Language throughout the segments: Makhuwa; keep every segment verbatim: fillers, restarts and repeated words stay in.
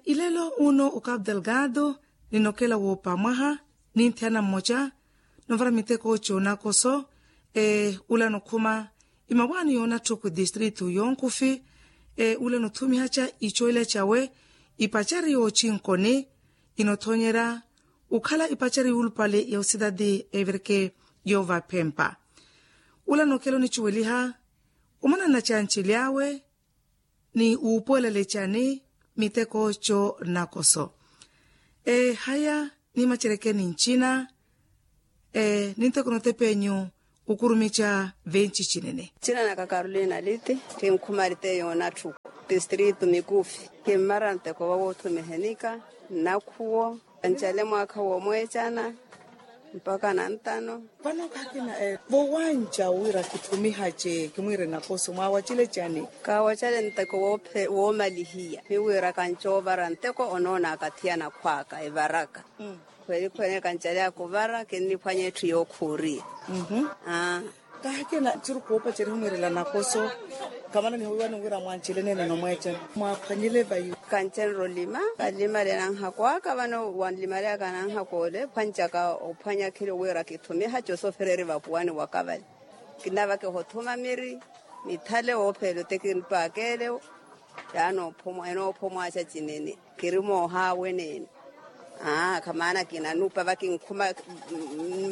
Ilelo uno o cabo delgado, ninokela woopa mwaha, ninthiyana mmoca novara miteko c'onakoso. Ula nokhuma imawaani y'onatthu ku distritu y'onkufi. Ula nothumihaca icoela cawe ipacari y'ocinkoni, inothonyera okhala ipacari y'ulupale ya osidadi everke y'ovaphempa. Ula nokela onicuweliha omana nacanceli awe ni wuupuwelela ecani miteko co nakoso. Ehaya nimacerekeni ncina. Ninteko notepenyu okurumica venci cinene. Ncina naka carolina liti. Kinkhuma lite yonatthu distritu mikufi kimmara nteko wawothumihenika nnakhuwo. Kancale mwaakha womweecana mpaka nantano. Vano kakina vowanca wira kithumihace kimwire nakoso mwawacile cani? Kawacale nteko woomalihiya miwira kancoovara nteko onoonaka thiyana khwaka evaraka. Khweli khwene kancale akuvara kinniphwanya etthu yookhuuriya. Kahakina ncuru koopa ceri humwirela nakoso. Kamana nihuwiwani wira mwancile nene nomweecela mwaphwanyile vayu? Kancenre olima kalimale nanhakwaka vano wanlimaleyaka nanhakole phwancaka ophwanya khilo wira kithumiha cosofereri vapuwani wakavale. Kinavaka ehothuma miri mithale woophela otekinpaakele. Yaani enoopha omwaca cinene kiri moohaawe neene. Aa khamana kinanupa vakinkhuma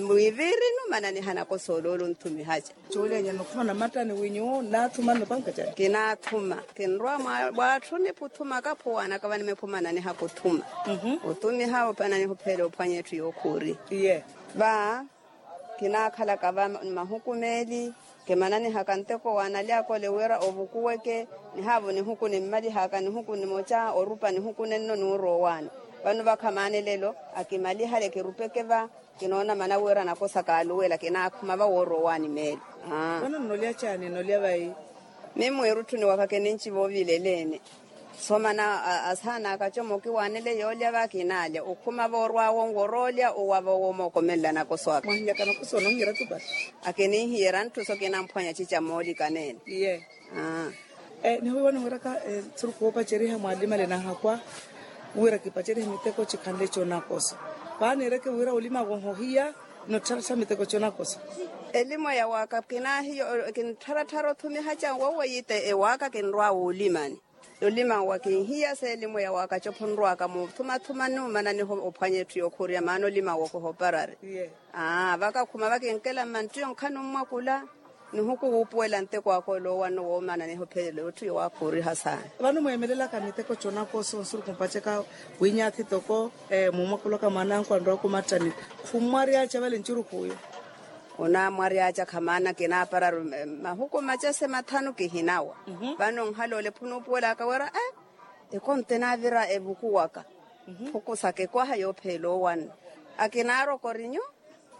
mwivirinu mana nihana kosooloolo nthumihaca. Coolya nyana okhuma namattani winyu naathuma nnopanka cani? Kinaathuma kinrwa mwaatthuni puthuma kaphuwanaka vanimephumana nihaka othuma. Othumiha opana nihuphela ophwanya etthu yookhuuri. Iye va kinaakhalaka va mahuku meeli. Kimananihaka nteko wanalyaka ole wira ovukuweke nihaavo nihuku nimmalihaka nihuku nimoca orupa nihuku nenno nuurowani. Vano vakhamani lelo akimalihale kirupeke va kinoona mana wira nakosa kaaluwela kinaakhuma va woorowani meeli. Vano nnolya caani nnolya vayi? Mimwiirutthuni waka kininci voovileleene. Somana asaana akacomoki waanele yoolya va kinaalya okhuma voorwaawo nwor'olya owava womookomela nakoso aka. Mwahinyaka nakoso ononhiyera tupa? Akininhiyera ntthu so kinamphwanya cica moolikaneene. Iye. Nihuwiwani wiraka ntthuru koopaceriha mwaalimale nahakwa wira kipacerihe miteko cikhanle conakoso. Paani ereke wira olimawe ohohiya nottharattha miteko conakoso. Elimo ya waka kinaahiyo kinttharatthar'othumiha canwo weiite ewaka kinrwaawe olimani. Olimawa kinhiya seelimo ya waka cophunrwaka muuthumathumani omananiho ophwanya etthu yookhuriya maana olimawa okohoparari. Vakakhuma vakinkela mmanttiyo nkhani ommwakula nihuku wuupuwela nteko aka oloowanno woomananiho phelela etthu yowaakhuuriha saana. Vano mweemelelaka miteko conakoso nsuruku mpaceka winyaathi toko muumwakulaka mwaananku anrwaka omattani khummwaryaaca vale ncurukhuuyo. Onaamwaryaaca khamaana kinaapararu mahuku macase mathanu kihinawa. Vano nhala ole phunuupuwelaka wira e ekonto enaavira evukuwaka. Phukusaka ekwaha yoopheela owanna akinaarwa okorinyu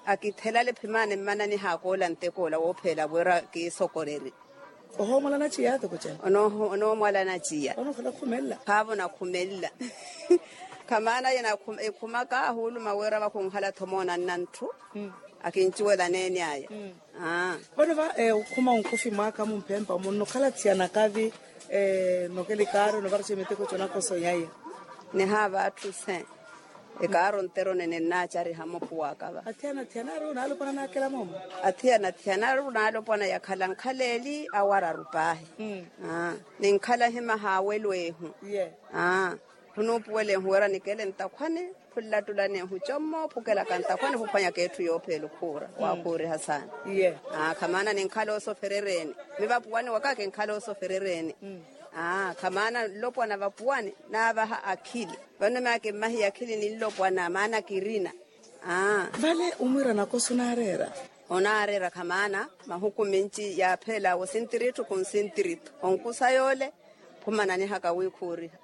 akithelale phimaana emmananihaka ola ntek'ola woopheela wira kiisokorerye. Ohoomwalana ciya toko cani? Onoomwalana ciya. Vano okhala okhumelela? Khaavo nakhumelela. Khamaana ye ekhumaka ahuuluma wira vakhunhala-tho moonanna ntthu akincuwela neene aya. Vano va okhuma onkufi mwaaka mumphempa munnokhala thiyana kavi? Nnokela ikaaro novaraxa emiteko conakoso nyaiya. Nihaava atthu se ekaaro ntero nene nnaacariha mophuwaka va. Athiyana athiyana ari onaalopwana naakela moomo? Athiyana athiyana ari onaalopwana yakhala nkhala eli awararu paahi. Ninkhala hima haawelo ehu. Khunuupuwela ehu wira nikele ntakhwani. Phunlattulana ehu commo phukelaka ntakhwani phuphwanyaka etthu yoopheela okhuura waakhuuriha saana. Khamana ninkhala osoferereeni mivapuwani waka kinkhala osoferereeni. Khamana nlopwana vapuwani naavaha akhili. Vano maakimmahiya akhili ninlopwana maana kirina. Vale omwiira nakoso onaareera? Onaareera khamaana mahuku minci yaapheelaawe osintiritthu khunsintiritho onkusa yoole. Khumananihaka wiikhuuriha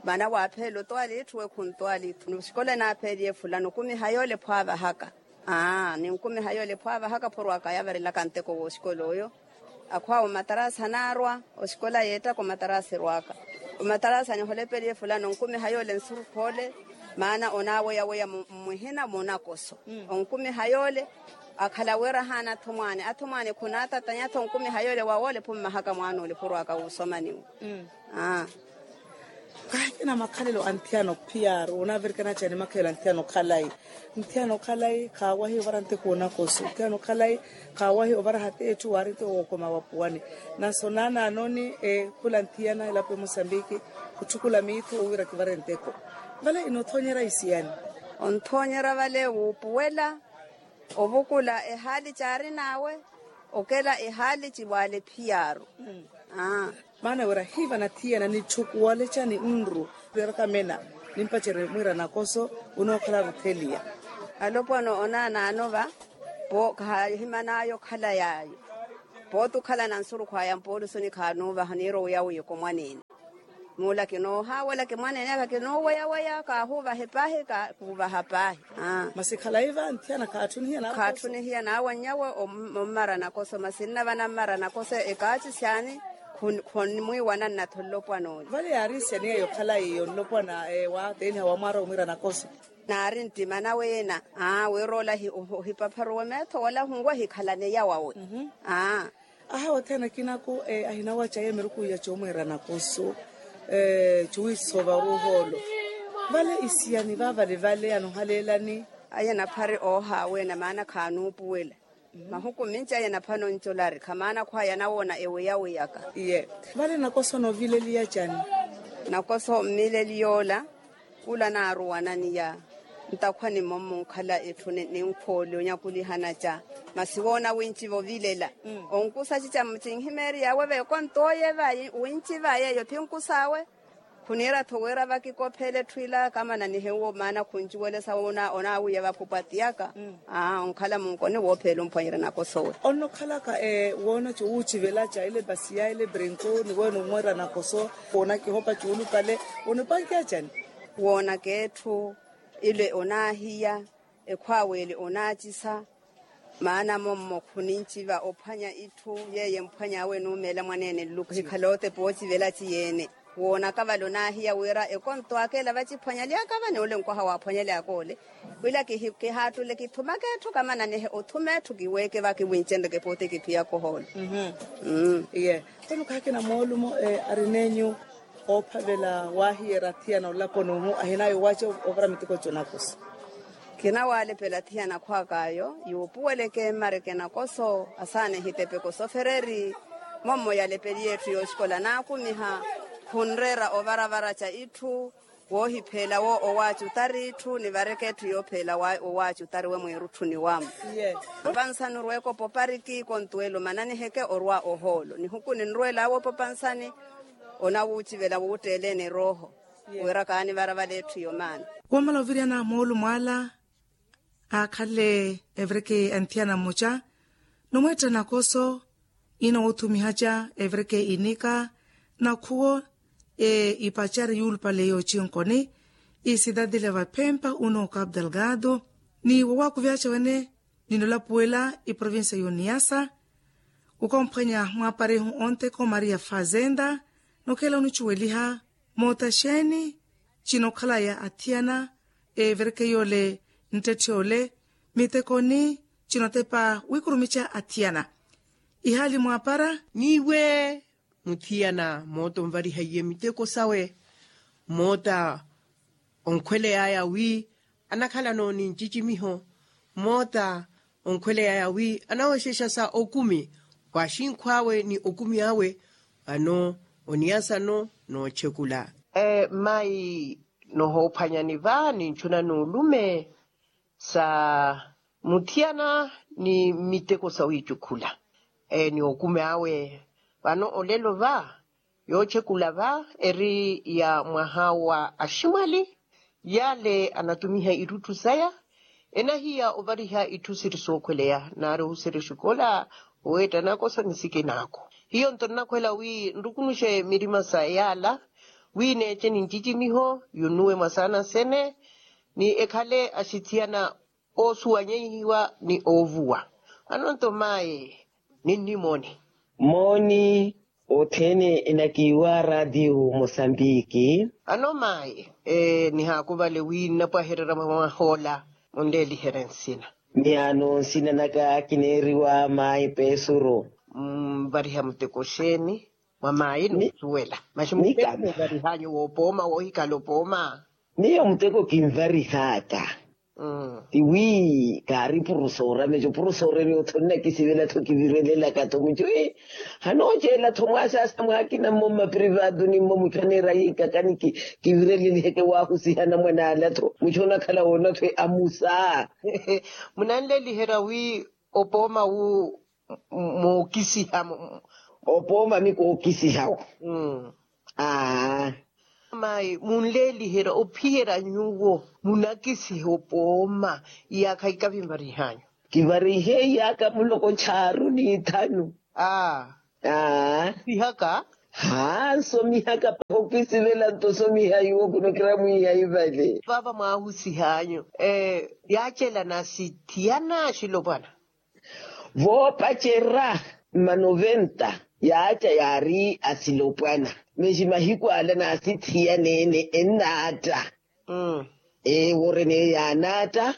maana waapheela otwaali itthu we khuntwaali itthu noxikola enaapheeliye fulani okumiha yoole pho aavahaka. Aa ninkumiha yoole pho aavahaka phorwaaka yaavarelaka nteko wooxikola oyo. Akhwaawe omatarasi anaarwa oxikola yeettaka omatarasi erwaaka. Omatarasi aniholepeliye fulani onkumiha yoole nsurukhu ole maana onaaweyaweya mmwihina moonakoso. Onkumiha yoole akhala wira ahaana athumwaani athumwaani khunaatatanya-tho onkumiha yoole waawoole phummahaka mwaana ole phorwaaka wuusomaniwa. Aa Kahi kina makhalelo a nthiyana ophiyaaru onavirikana cani makhalelo a nthiyana okhalayi. Nthiyana okhalayi khaawahiya ovara nteko onakoso nthiyana okhalayi khaawahiya ovara hata etthu waari nteko wookoma wapuwani. Naso naanaanoni khula nthiyana elapo emosambiki khutthukula miitho owira kivare nteko. Vale inothonyerya isiyani? Onthoonyerya vale wuupuwela ovukula ehaali caari n'awe okela ehaali ciwaale phiyaaru. Maana wira hiiva nathiyana nitthukuwale cani nru. Reeraka mena nimpacerye mwiira nakoso onookhala rutheliya. Alopwana onaanaano va poo khahiman'aya okhala yaayo. Pootti okhala na nsurukhw'aya mpooluso nikhaanoovaha niira oweya wiiko mwaneene. Muula kinoohaawelaka mwaneene aka kinooweyaweya kaahuuvahe paahi kaahuuvaha paahi. Masi khalayi va nthiyana khaatthunihiya naawe. Khaatthunihiya naawe nnyawe ommara nakoso masi nnavana mmara nakoso ekaaci syani? Khonimwiiwana nnathololopwana ole. Vale yaari isiyani yeeyo okhalayi yonlopwana wa teeniha wa mwaara omwiira nakoso. Naari nttima nawe ena. Aa wira ola ohipapharuwe meetho wala hunwe ohikhalane yawawe. Aa. Ahawa othene akina ako ahinawaca yeemeruku iya coomweera nakoso. Cuwiisova oruuha olo vale isiyani vaavale vale anohaleelani. Aya naphari oohaaweena maana khaanuupuwela. Mahuku minci aya naphano ncolari khamaana khwaya nawoona eweyaweyaka. Iye. Vale nakoso noovileliya cani? Nakoso mmileliy'ola. Khula naaruwananiya ntakhwani mommo onkhala etthu ninkhooli onyakulihana ca. Masi woona winci vovilela onkusa cica mucinhimeeriy'awe veekonto oye vayi winci vayi eyo phinkus'awe. Khuniira-tho wira vakikophele etthu ila kamananihe uwo maana khuncuwelesa onaawiya vaphupwa tiyaka. Aa onkhala munkoni woopheela omphwanyerya nakoso owe. Onnokhalaka woona cuwuucivela ca ile basiya ile brinko ni weene omweera nakoso woona kihopa cuulupale. Onipankiya cani? Woonaka etthu ile onaahiya ekhwaawe ile onaacisa. Maana mommo khuninciva ophwanya itthu yeeyo emphwany'awe enuumeela mwaneene nluku ohikhala otepa oocivela aciyeene. Woonaka vale onaahiya wira ekonto aka ela vaciphwanyaly'aka va ni ole nkwaha waaphwanyaly'aka ole. Wila kihaattule kithumaka etthu kamananihe othuma etthu kiweeke va kiwincenreke pooti kiphiyaka ohoolo. Iye. Toni okaakina moolumo arin'enyu oophavela waahiyerya athiyana olaponi ohu ahinaya owaaca ovara miteko conakoso. Kinawalepela athiyana akhwak'ayo yuupuweleke mmareke nakoso asaana ehitepeko sofereri. Mommo yalepeliye etthu yooxikola naakumiha khunreera ovaravara ca itthu woohipheela wo owaaca otari itthu nivareke etthu yoopheela owaaca otari we mwiirutthuni wamo. Opansani orweeke opopariki kontuwelo mananiheke orwa ohoolo nihuku ninrweel'awe opapansani. Onawuucivela wuutteeleeni erooho wira kaanivara vale etthu yomaana. Woomala oviryana moolumo ala aakhale eviriki anthiyana mmoca nomweetta nakoso inoowuthumihaca eviriki inika nakhuwo ipacari yuulupale yoochinkoni isidadile vaphempa unooka abdelgado. Ni wowakuvyaca wene ninolapuwela iprovincia y'oniyasa okomphwanya mwaaparihu onteko maria fazenda. Nokhela onicuweliha moota xeeni cinokhalaya athiyana evireke yoole nttetthe ole mitekoni cinotepa wikurumica athiyana. Ihaali mwaapara n'iwe muthiyana moota onvariha iye miteko sawe moota onkhweley'aya wi anakhalano ni ncicimiho moota onkhweley'aya wi anawexexa sa okumi w'axinkhw'awe ni okumi awe. Vano oniyasano noochekula. Mayi nohoophwanyani va ninchuna n'ulume sa muthiyana ni miteko sawiicukhula ni okumi awe. Vano olelo va yoochekula va eri ya mwaha wa aximwali. Yale anatumiha itthu saya enahiya ovariha itthu siri sookhweleya naari ohuserya exikola oweetta nakoso ni sikinaako. Hiyo nto nnakhwela wi nrukunuxe mirima sa yaala wi neece ni ncicimiho yunuwe mwasaana sene ni ekhale axithiyana oosuwanyehiwa ni oovuwa. Vano nto maye ninnimooni mooni othene enakiiwa radiyo mosambiki. Ano maye nihaakuvale wi nnapwahererya mwa mwaha ola munleeliherye nsina. Ni ano nsina naka kineeriwa mayi pesuro. Mvariha muteko xeeni? Mwa maayi n'usuwela? Masi muteko kinvarihanyu w'opooma woohikhala opooma. Miyo muteko kinvarihaaka. Tiwi kaari purusoora meco purusoora eri otho nnakisivela-tho kivirelelaka-tho mucu. Hanooceela-tho mwaasaasa mwaakina mmo mmaprivaatu ni mmo mucu aneera yiikakani kivireleliheke waahusihana mwan'ala-tho mucu onakhala woona-tho amusa. Munanleliherya wi opooma wu mookisiha? Opooma mi kookisiha-wo. Aa. Mayi munleeliherya ophiherya nyuwo munakisiha opooma iyaakha ikavinvarihanyu? Kivarihe iyaakha muloko chaaru n'ithanu. Aa. Aa. Sihaka. Haa nsomihaka pahi okisivela nto osomiha iwo kuno kiramwiiha ivale. Vaava mwaahusihanyu yaacelana sithiyana axilopwana. Voopacerya mma noventa yaaca yaari asilopwana. Masi mahiku ala naasithiyaneene ennaatta. Ee wooreneyo yaanaatta.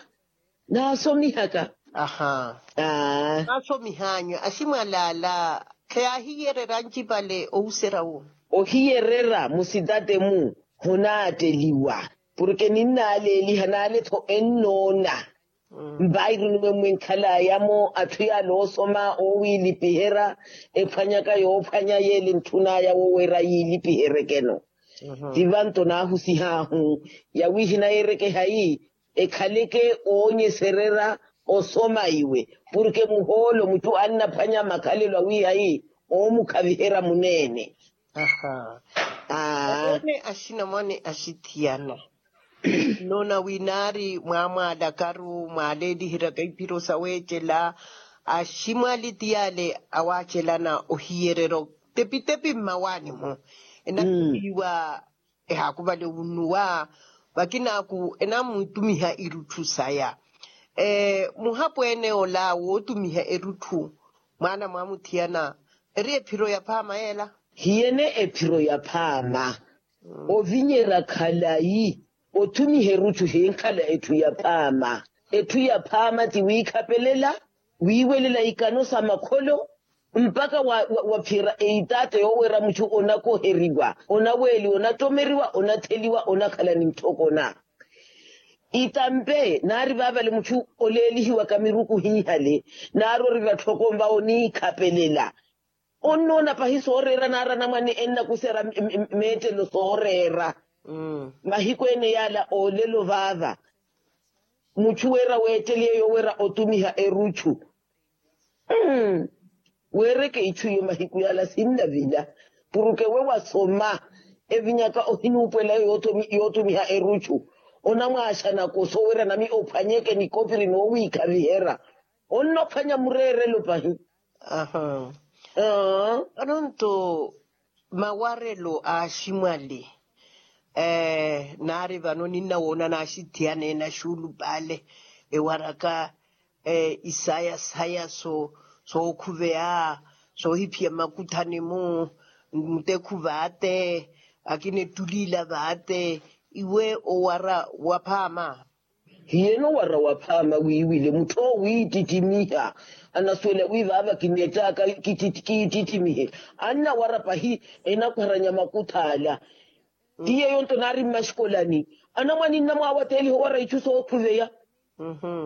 Naasomihaka. Aa. Naasomihanyu aximwalaala khayaahiyeererya ancipale ohuserya wo. Ohiyererya musitate-mu honaatteliwa. Porke ninnaaleeliha naale-tho ennoona. Mpairu nimwemwenkhalaya-mo atthu yaale oosoma oowiilipiherya ephwanyaka yoophwanya yeele entthun'aya woweera yiilipiheryeke-no. Ti vanto naahusih'ahu yawi hinayeerekehayi ekhaleke oonyesererya osoma iwe. Porke muhoolo mucu annaphwanya makhalelo awihayi oomukhaviherya muneene. Aa. Aweene axinamwane axithiyana. Nnoona wi naari mwaamwaalakaru mwaaleeliheryaka iphiro saweecela aximwali ti yaale awaacelana ohiyererya otepitepi mmawaani-mu. Enakhupiwa ehaakuvale wunnuwa vakinaaku enamwitumiha irutthu saya. Muhapweene ola wootumiha erutthu mwaana mwamuthiyana eri ephiro yaphaama yeela? Hiyene ephiro yaphaama. Ovinyerya khalayi othumiha erutthu hinkhala etthu yaphaama. Etthu yaphaama ti wiikhapelela wiiwelela ikano sa makholo mpakha waphiyerya eitaatta yooweera mutthu onakoheriwa onaweeliwa onattomeriwa onatheliwa onakhala ni ntthokona. Itampe naari vaavale mutthu oleelihiwaka miruku hiihale naari ori vatthokonva oniikhapelela. Onnoona pahi sooreera naari anamwane ennakuserya meettelo sooreera. Mahiku ene yaala oolelo vaava mutthu weera weetteliye yooweera otumiha erutthu. Weereke itthu iyo mahiku yaala sinnavila. Puruke we wasoma evinyaka ohinuupwela yootumiha erutthu onamwaaxanaka osoowerya nami ophwanyeke nikopiri noowiikhaviherya. Onnophwanya mureerelo pahi. Vano nto mawarelo a aximwali naari vano ninnawoona naaxithiyaneene axuulupale ewaraka isaya saya sookhuveya soohiphiya mmakuthani-mu mutekhu vaate akina ettuliila vaate iwe owara waphaama. Hiyeno wara waphaama wiiwile mutthu owo wiittittimiha anasuwela wi vaava kineettaka kiittittimihe annawara pahi enakwaranya makuthaala. Ti yeeyo nto naari mmaxikolani anamwane nnamwaawateeliha owara itthu sookhuveya.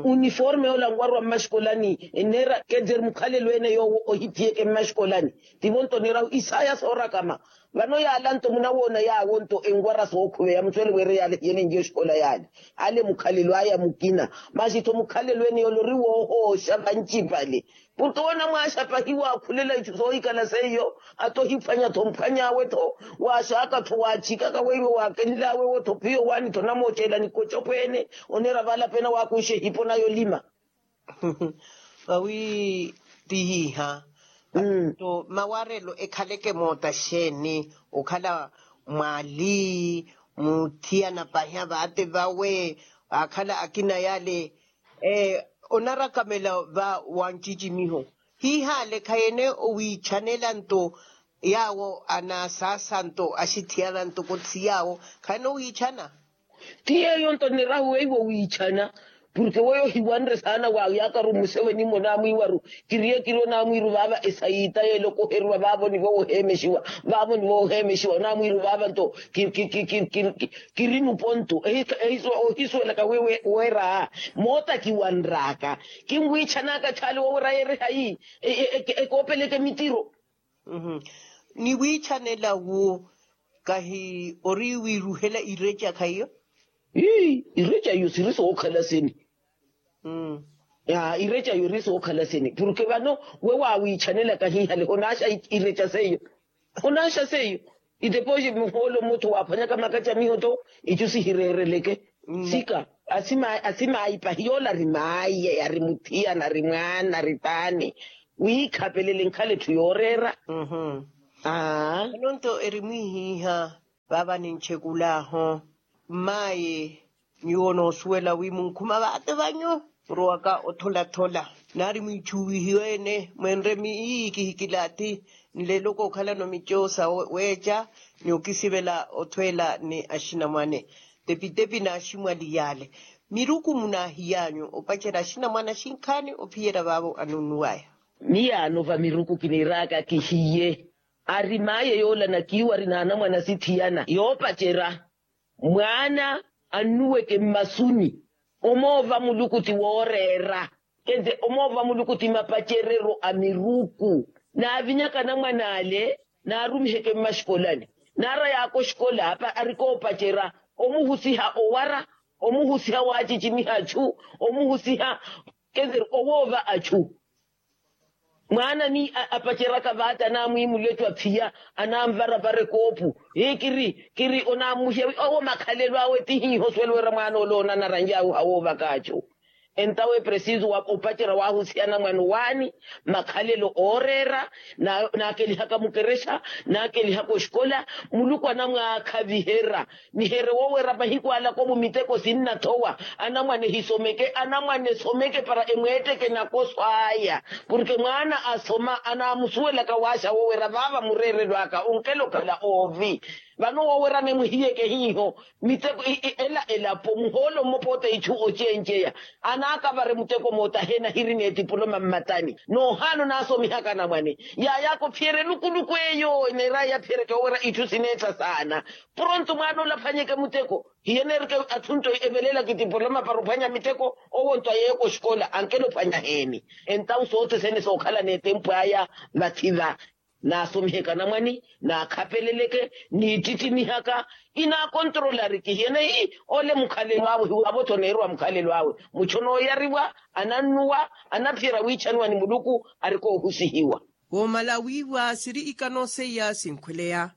Uniforme yoola nwarwa mmaxikolani enneera keter mukhalelo ene yoowo ohiphiyeke mmaxikolani. Tivo nto onerahu isaya soorakama. Vano yaala nto munawoona yaawo nto enwara sookhuveya musuwele wira yaala hiyelenjiye oxikola yaale ale mukhalelo aya mukina. Masi-tho mukhalelo ene yoola ori woohooxa vancipale. Puto onamwaaxa pahi waakhulela itthu soohikhala seiyo ata ohiphwanya-tho mphwany'awe-tho. Waaxaka-tho waatthikaka weiwo waakenl'awe-wo-tho phiyo waani-tho onamooceela nikocopweene. Oneera vaala pena waakuxa ehipo naya olima. Vawi tihiiha. Nto mawarelo ekhaleke moota xeeni? Okhala mwaali muthiyana pahi avaate vawe akhala akina yale onarakamela va wancicimiho hiihaale khayene owiichanela nto yaawo anaasaasanto axithiyana ntoko ti yaawo khayana owiichana. Ti yeeyo nto nirahu weiwo wiichana Porke weyo ohiwanre saana wa yaakaru mmusewe nimmo onaamwiiwaru. Kiriye kiri onaamwiiru vaava esayiita yeela okoheriwa vaavo nivo woheemexiwa. Vaavo nivo woheemexiwa onaamwiiru vaava nto kiri nupontu. Ohisuwelaka weera moota kiwanr'aka. Kinwiitxan'aka txaali wowerya yeerihayi ekoopeleke mitiro. Ni wiitxanela wu kahi ori wiiruhela ireca khaiyo. Ii ireca iyo siri sookhala sini? Ireca iyo eri sookhala sini porke vano we waawiitxanela kahiihale onaaxa ireca seiyo. Onaaxa seiyo. Itepoxi muhoolo mmottho waaphwanyaka makacamiho to icu sihireereleke. Sika asimaipahi yoola ari maaye ari muthiyana ari mwaana ari taani wiikhapelele nkhale etthu yooreera. Aa. Eno nto eri mwiihiiha vaava nintxekul'ahu mmaayi nyuwo onoosuwela wi munkhuma vaate vanyu murowaka otholathola naari mwiitxuwihiwe-ene mwenre miiyi kihikilaathi nleelo kookhalano mico sa weeca ni okisivela othweela ni axinamwane tepitepi n'aximwali yaale. Miruku munaahiy'anyu opacerya axinamwane axinkhaani ophiyerya vaavo anunnuw'aya. Miyaano va miruku kiniir'aka kihiye ari maaye yoola nakiiwari n'anamwane asithiyana yoopacerya mwaana annuweke mmasuni omoova muluku ti wooreera. Kente omoova muluku ti mapacereryo a miruku naavinyaka anamwane ale naarumiheke mmaxikolani naaray'aka oxikola apa arikoopacerya omuhusiha owara omuhusiha waacicimiha achu omuhusiha kente owoova achu. Mwaana ni apaceryaka vaata anaamwiimula ecu aphiya anaamvarapara ekoopu. Hii kiri kiri onaamuhiya wi owo makhalelo awe ti hiiho osuwela wira mwaana ole oona anaranj'awe ohawoovaka achu. Entawe presiso wa opacerya waahusiha anamwane owaani makhalelo ooreera naakelihaka mukerexa naakelihaka oxikola muluku anamwaakhaviherya. Nihere woowera mahiku alaka omu miteko sinnathowa anamwane hisomeke anamwane esomeke para emweetteke nakoso aya. Porke mwaana asoma anaamusuwelaka waaxa woowera vaava mureerelo aka onkela okhala oovi. Vano woowera anemwihiyeke hiiho miteko ela elapo muhoolo mmopoota itthu ocenceya anaakavare muteko moota aheena ahiri n'etipuloma mmatani. Noohaana onaasomihaka anamwane yaayaka ophiyerya elukuluku eyo eneer'aya yaphiyeryeke woowera itthu sineetta saana. Poronto mwaana ole aphwanyeke muteko hiyeneerike atthu nto evelelaka etipoloma para ophwanya miteko. Owo nto ayeeyaka oxikola ankela ophwanya heeni. Entawu sothene sookhala n'etempu aya vathi va naasomiheke anamwane naakhapeleleke niittittimihaka. Inaakontrolari kihiyeneyi ole mukhalelo awe hiwaavo-tho oneerowa mukhalelo awe. Muchonooyariwa anannuwa anaphiyerya wiichaniwa ni muluku arikoohusihiwa. Woomala wiiwa siri ikano seiya sinkhweleya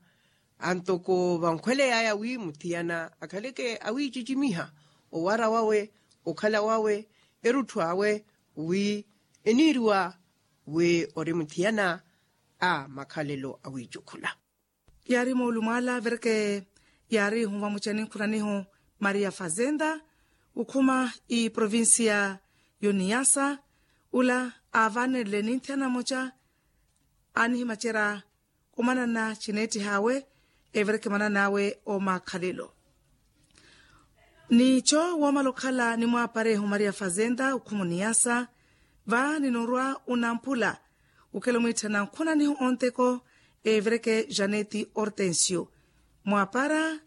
antoko vankhweley'aya wi muthiyana akhaleke awiicicimiha owara wawe okhala wawe erutthu awe wi eniiriwa wi ori muthiyana a makhalelo awiicukhula. Yaari moolumo ala avereke yaari ehunva mucani nkhunanihu maria fazenda okhuma iprovincia y'oniyasa ula aavanerele ninthi anamoca aanihimacerya omanana cineettih'awe evereke manan'awe omakhalelo. Nico woomala okhala nimwaapareehu maria fazenda okhuma oniyasa va ninoorwa onamphula okela omwiitthana nkhunanihu onteko evereke janeti hortensio mwaapara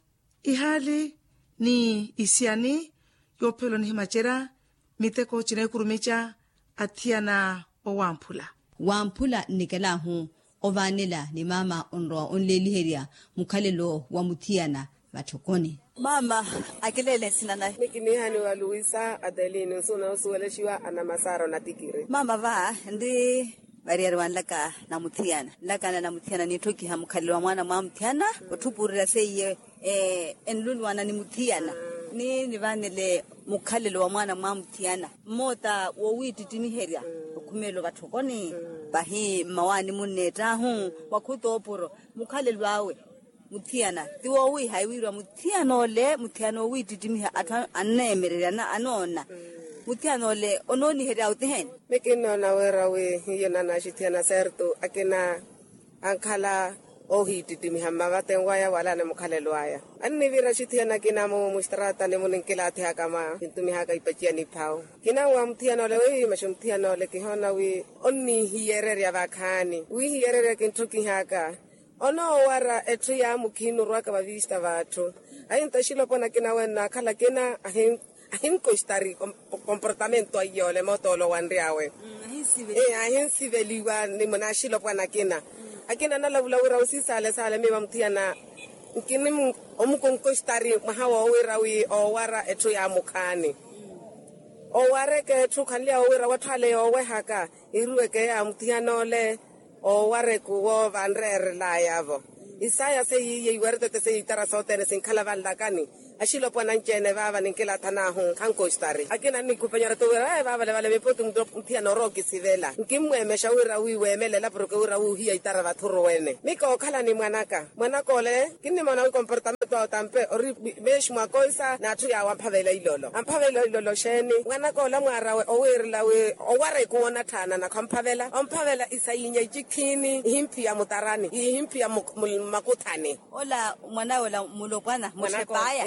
ihaali ni isiyani yoophela onihimacerya miteko cineekurumica athiyana owamphula. Wamphula nnikelahu ovaanela ni maama onrowa onleeliherya mukhalelo wa muthiyana matthokoni. Maama akileele nsina nahi. Mikiniihani wa luisa adelino nsuuna osuwelexiwa anamasaara onatikiri maama va nri variyari wanlaka na muthiyana nlakana na muthiyana niitthokiha mukhalelo wa mwaana mwa muthiyana otthupuurerya seiye enluluwana ni muthiyana ni nivaanele mukhalelo wa mwaana mwa muthiyana mmoota woowiittittimiherya okhumeelo vatthokoni vahi mmawaani munneett'ahu wakhuta oopuro mukhalelo awe muthiyana ti woowiihayi wiiriwa muthiyana ole muthiyana oowiittittimiha atthu anneemererya anoona muthiyana ole onooniherya otiheni. Mikinnoona wira wi hiyo nanaxithiyana serto akina ankhala Oohiittittimiha mmavaten waya wala ni mukhalelo aya. Annivira axithiyana akina mu mustraatani mu ninkilaatihaka mwa kintumihaka ipaciya niphawu. Kinawa muthiyana ole wiimaxa muthiyana ole kihoona wi onniihiyererya vakhaani wiihiyererya kintthu kihaka. Onoowara etthu ya mukhiini orwaka vavista v'atthu. Ahinta axilopwana akina wenna akhala akina ahinkostari komportamento aiyole mootolo wanry'awe. Ahinsiveliwa ni munaaxilopwana akina. Akina analavula wira osiisale sale miiva muthiyana nkini omukonkostari mwaha wowira wi oowara etthu ya mukhaani. Owareke etthu khanly'awe wira watthu ale yoowehaka iruweke ya muthiyana ole. Owareku wo vanreerelaya-vo isaya seiye iweretote seiye itara sothene sinkhala vanlakani. Axilopwana anci-ene vaava ninkilaathan'ahu khankostari akina annikupanyara-tho wira vaavale vale miputi muthiyana orookisivela nkimmweemexa wira wi weemelela porke wira wuuhiya itara vathuruwene mikookhala ni mwanaka. Mwanaka ole kinnimoona wi komportamento awe tampe ori meexi mwakoisa n'atthu yaawe amphavela ilolo amphavela ilolo xeeni mwanaka ole amwaarawe owiirela wi owareku woonatthaana nakho amphavela omphavela isayinya icikhiini ihimphiya mutarani ihimphiya mmakuthani. Ola mwan'awe ola mulopwana muxepaya.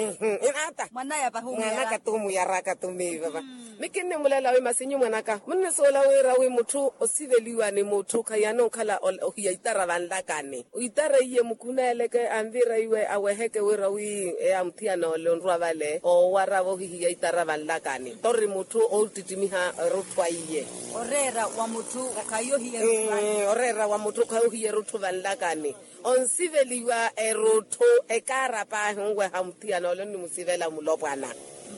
Mwan'aya pahi mwanaka tumuyaraka tumiiva va. Mikinnimulela wi masinyu mwanaka munnisuwela wira wi mutthu osiveliwa ni mutthu khaiyana onkhala ohiya itara vanlakani. Itara iye mukhuneeleke anvira iwe aweheke wira wi eya muthiyana ole onrwa vale oowara vohihiya itara vanlakani tori mutthu oottittimiha erutthu aiye. Oreera wa mutthu khayohiya erutthu vanlakani. Onsiveliwa erutthu ekaara paahi onweha muthiyana ole onnimusivela mulopwana.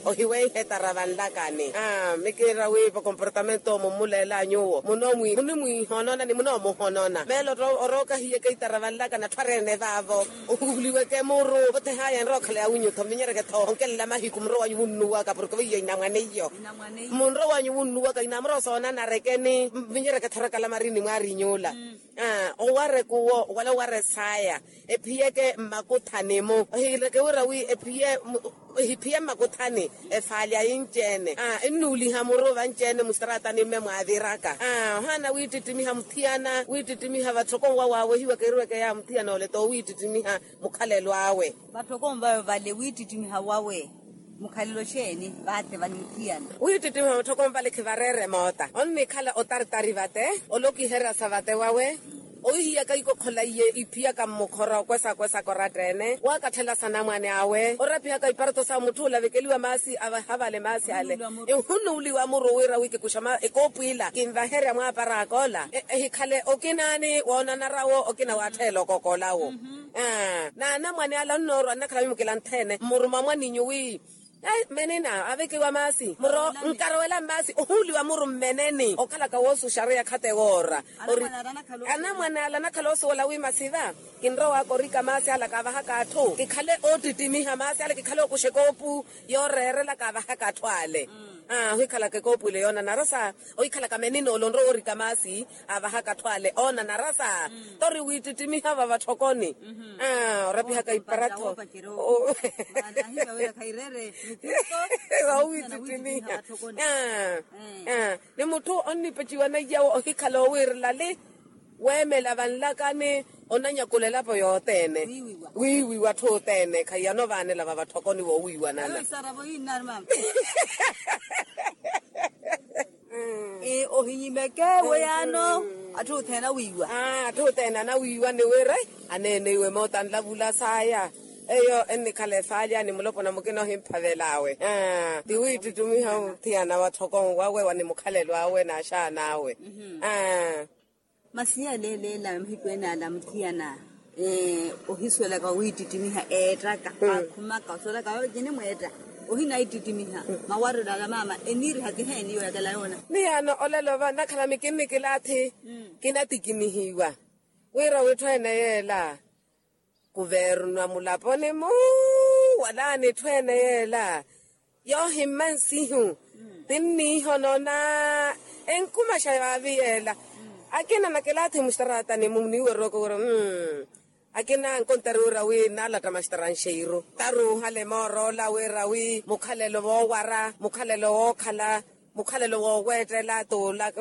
Ohiweiha etara vanlakani. Mikiira wi vakomportamento mummulelanyuwo munimwiihonona ni munoomuhonona meelo orookahiyeke itara vanlakani atthu areene vaavo. Ohuliweke muru othehaya enrookhala ya winyu-tho mvinyereke-tho onkelela mahiku munrowanyu wunnuwaka porke veiyo inamwaneiyo. Munrowanyu wunnuwaka inamura osoonana arekeni mvinyereke-tho orakala marini mwaariny'ula. Owarekuwo wala owaresaya ephiyeke mmakuthani-mu ohiireke wira wi ephiye ehiphiye mmakuthani. Efaali ayi nci-ene ennuuliha muru vanci-ene mustaraatani mme mwaaviraka. Ohaana wiittittimiha muthiyana wiittittimiha vatthoko nwa waawehiwaka eruweke ya muthiyana ole t'owiittittimiha mukhalelo awe. Vatthoko nvawe vale wiittittimiha wawe mukhalelo xeeni? Vaatte vani muthiyana wiittittimiha vatthoko nvale khivareere moota onnikhala otartari vate. Ole okiherya sa vate wawe ohihiyaka ikokhola iye iphiyaka mmukhora okwesa-kwesa koratta-ene waakatthela sanamwane awe orapihaka iparatho sa mutthu olavekeliwa maasi avaha vale maasi ale. Ehunuuliwa muru wira wi kikuxa ekoopu ila kinvaherya mwaaparaka ola ehikhale okinaani woonanarawo okina waattheela okokolawo. N'anamwane ala onnoorwa nnakhala mimukila nthene mmuruma mwaninyu wi menina avekiwa maasi muro nkarowela mmaasi ohuuliwa muru mmeneni okhalaka woosuxareya khatte woora. Anamwane ala anakhala oosuwela wi masiva kinrowaka orika maasi ala kaavahaka atthu kikhale oottittimiha maasi ala kikhale ookuxa ekoopu yooreerela kaavahaka atthu ale. Ohikhalaka ekoopu ile yoonanara sa ohikhalaka menina ole onrowa orika maasi aavahaka atthu ale oonanara sa tori wiittittimiha vavatthokoni. Orapihaka iparatho owiittittimiha ni mutthu onnipeciwa naiyawo ohikhala owiirela li weemela vanlakani onanyakula elapo yothene wiiwiwa atthu othene khaiyana ovaanela vavatthokoni woowiiwanana. Ohinyimeke weyaano atthu othene awiiwa atthu othene anawiiwa ni wira aneene iwe moota nlavula saya eyo ennikhala efaalya ni mulopwana mukina ohimphavel'awe. Ti wiittittimiha muthiyana watthoko nwawe wa ni mukhalelo awe n'axaana awe. Masi yaleeleela mahiku ene ala muthiyana ohisuwelaka wiittittimiha eettaka aakhumaka osuwelaka vaava cinimweetta ohina iittittimiha mawarelo ala maama eniiriha kiheeni yooyakela yoona. Miyaano olelo va nnakhala mikinnikilaathi kinatikinihiwa wira witthu ene yeela kuvernwa mulaponi-mu wala n'itthu ene yeela yoohimma nsihu tinniihonona enkumaxa vaavi yeela. Akina nakilaathi mustaraatani-mu niiwerowaka wira akina ankontari wira wi naalatta mastranxeiru taruuhale moor'ola wira wi mukhalelo woowara mukhalelo wookhala mukhalelo wooweettela t'ula.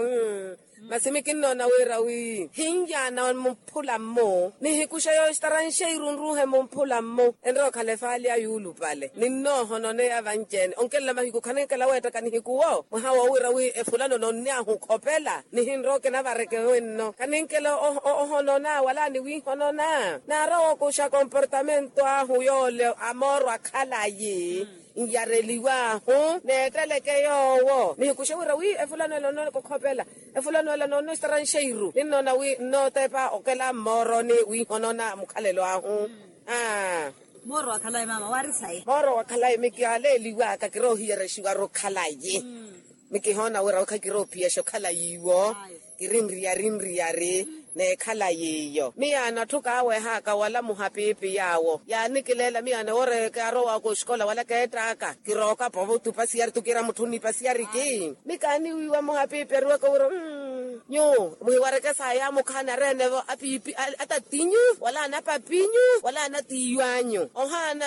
Masi mikinnoona wira wi hinyaana mumphula-mmu nihikuxe yoostaranxeiru nruuhe mumphula-mmu enrowa okhala efaali ya yuulupale ninnoohononeya vanci-ene onkelela mahiku khaninkela weettaka nihikuwo mwaha woowira wi efulano nonny'ahu okhopela nihinrowa okinavareke wenno khaninkela ohonona wala niwiihonona naarowa okuxa komportamento ahu yoole amoorwa khalayi nyareliw'ahu neetteleke yoowo nihikuxe wira wi efulano ela onnooneka okhopela efulano ela noonno estaranxeiru ninnoona wi nnootepa okela mmooroni wiihonona mukhalelo ahu. Aa. Mooro wa khalayi maama waari sayi mooro wa khalayi mikialeeliw'aka kiroohiyerexiwaru khalayi mikihoona wira wi khakiroophiyaxa okhalayi iwo kirinriyari nriyari n'ekhalayi iyo miyaana atthu kaaweh'aka wala muhapiipi yaawo yaanikileela miyaana wooreyeke arow'aka oxikola wala keett'aka kirookapa ovutupa siyari tukiira mutthu onnipa siyari ki mikaaniwiiwa muhapiipi ariwaka wira nyu muhiwareke saaya mukhaani areene-vo apiipi atattinyu wala anapapinyu wala anatiiwanyu ohaana